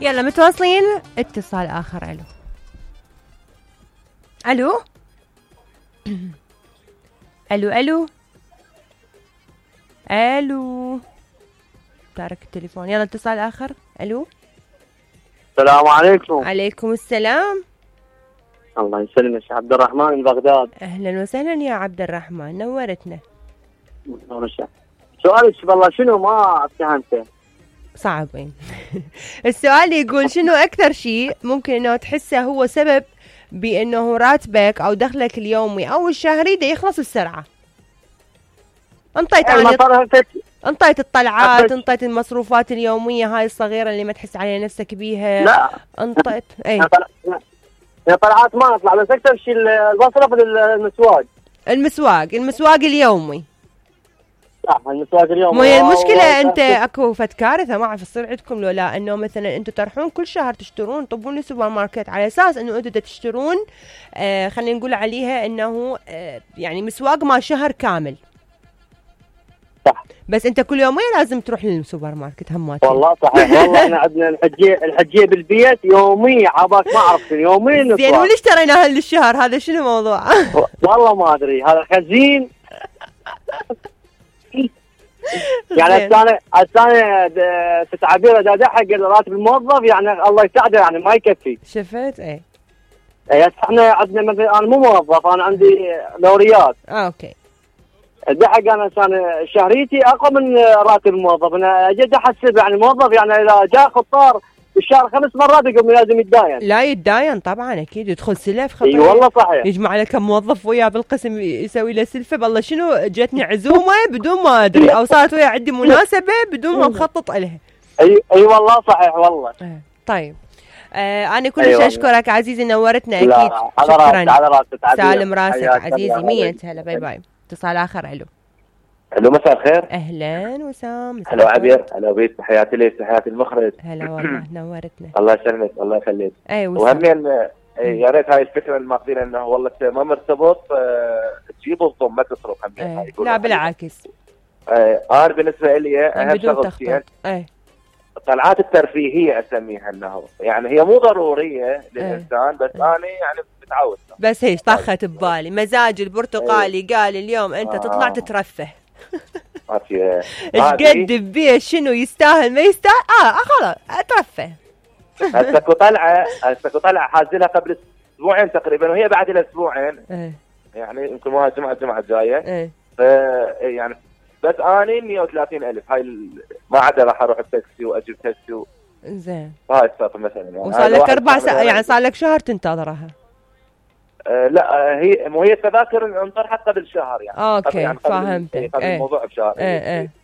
يلا متواصلين. اتصال آخر. ألو ألو ألو ألو ألو تارك التليفون. يلا اتصال آخر. ألو السلام عليكم. عليكم السلام. الله يسلمك. عبد الرحمن من بغداد. أهلا وسهلا يا عبد الرحمن، نورتنا. سؤالك والله شنو ما فهمته. صعبين. السؤال يقول شنو أكثر شيء ممكن إنه تحسه هو سبب بأنه راتبك أو دخلك اليومي أو الشهري ده يخلص بسرعة؟ انطيت الطلعات، انطيت المصروفات اليومية هاي الصغيرة اللي ما تحس عليها نفسك بيها. لا انطيت اي طلعات ما اطلع، بس اكثر شيء المصرف المسواق اليومي. صح، المسواق اليومي. مو هي المشكلة انت اكو فد كارثة ما اعرف تصير عندكم لو لا، انه مثلا انتم تروحون كل شهر تشترون طبون السوبر ماركت على اساس انه انتم تشترون خلينا نقول عليها انه يعني مسواق ما شهر كامل. صح، بس انت كل يومين لازم تروح للسوبر ماركت هماتين. والله صحيح. والله احنا عندنا الحجيه بالبيت يومي، عباك ما اعرف يومين. زين وليش اشتريناها للشهر؟ هذا شنو موضوع؟ والله ما ادري، هذا خزين. يعني الثاني تعبير دا حق راتب الموظف، يعني الله يساعده، يعني ما يكفي. شفت ايه؟ احنا عندنا مثلا انا مو موظف، انا عندي دوريات. اوكي. دحق انا شهريتي اقوى من راتب الموظف. انا اجي احسب يعني موظف، يعني اذا جاء خطار بالشهر 5 مرات يقوم لازم يتداين. لا يتداين طبعا اكيد، يدخل سلف خطر. اي والله صحيح. يجمع له كم موظف وياه بالقسم يسوي له سلفه. بالله شنو جتني عزومه بدون ما ادري، او صارت ويا عندي مناسبه بدون ما مخطط لها. اي والله صحيح والله. طيب انا كلش اشكرك عزيزي، نورتنا اكيد. شكرا على راسك. سالم راسك عزيزي. 100 هلا. باي باي. اتصال اخر. الو مساء الخير. اهلا وسام. هلا عبير. هلا بيت. تحياتي لك، تحياتي المخرج. هلا والله نورتنا. الله يسلمك، الله يخليك. وهمين يا ريت هاي الفكره اللي ماخذينها انه والله ما مرتبط تجيب الضم ما تصرف همين. لا بالعكس. انا بالنسبه لي اهم شغلتين الطلعات الترفيهيه اسميها، انه يعني هي مو ضروريه للانسان، بس انا يعني بتعود. بس هيش طخت ببالي مزاج البرتقالي. قال اليوم انت تطلع تترفه. ايش قد بيه شنو يستاهل ما يستاهل. خلاص اترفه. هسه طلعه حازلها قبل اسبوعين تقريبا، وهي بعد الاسبوعين يعني يمكن مو الجمعه الجايه. يعني بس اني 130,000 هاي ما عدا راح اروح بتاكسي واجيب تاكسي زين. هاي السالفه مثلا. يعني وصار لك 4 ساعات، يعني صار لك شهر تنتظرها. لا هي التذاكر انطرحت قبل شهر يعني. اوكي يعني فهمتك. قبل الموضوع بشهر.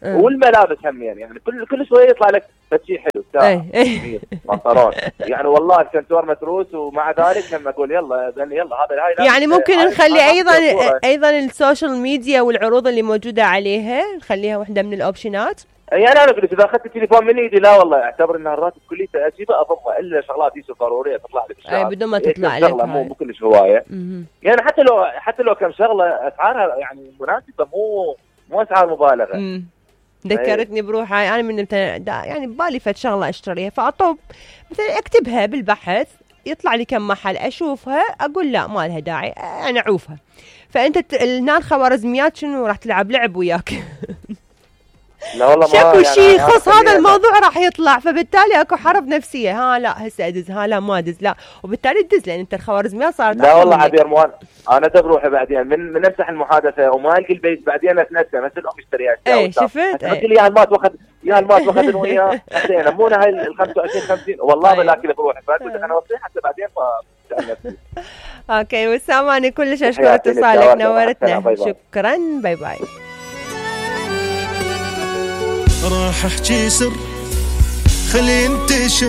والملابس هم يعني كل شويه يطلع لك شيء حلو ساعه بنطلون يعني والله الكنتور متروس، ومع ذلك لما اقول يلا هذا يعني ممكن نخلي ايضا السوشيال ميديا والعروض اللي موجوده عليها نخليها واحده من الاوبشنات. يعني انا اقول اذا اخذت التليفون من ايدي لا والله اعتبر ان الراتب كليته اجيبه اضمه، الا شغلات ضروريه تطلع لي بالشهر. بدون ما تطلع لك مو كلش هوايه. يعني حتى لو كم شغله اسعارها يعني مناسبه، مو اسعار مبالغه. ذكرتني بروحي انا من يعني ببالي فد شغله اشتريها، فاطب مثلا اكتبها بالبحث يطلع لي كم محل اشوفها اقول لا ما لها داعي انا اعوفها. فانت هنا الخوارزميات شنو راح تلعب لعب وياك. لا والله شكو شيء يخص هذا الموضوع راح يطلع، فبالتالي اكو حرب نفسيه. لا هسه ادز، لا ما ادز، لا وبالتالي تدز لان انت الخوارزميات صارت. لا والله عبير موان انا بروحي بعدين من امسح المحادثه وما القي البيت بعدين اتنسى مثل الام اشتريها. شفت قلت لي يا المات واخذ وياه اخذنا مو هاي ال 25 50 والله بلاكي بروحي. فقلت انا وصيح حتى بعدين ما اوكي وسام انا كلش اشكر اتصالك، نورتنا. شكرا. باي باي. راح احكي سر خلي انتشر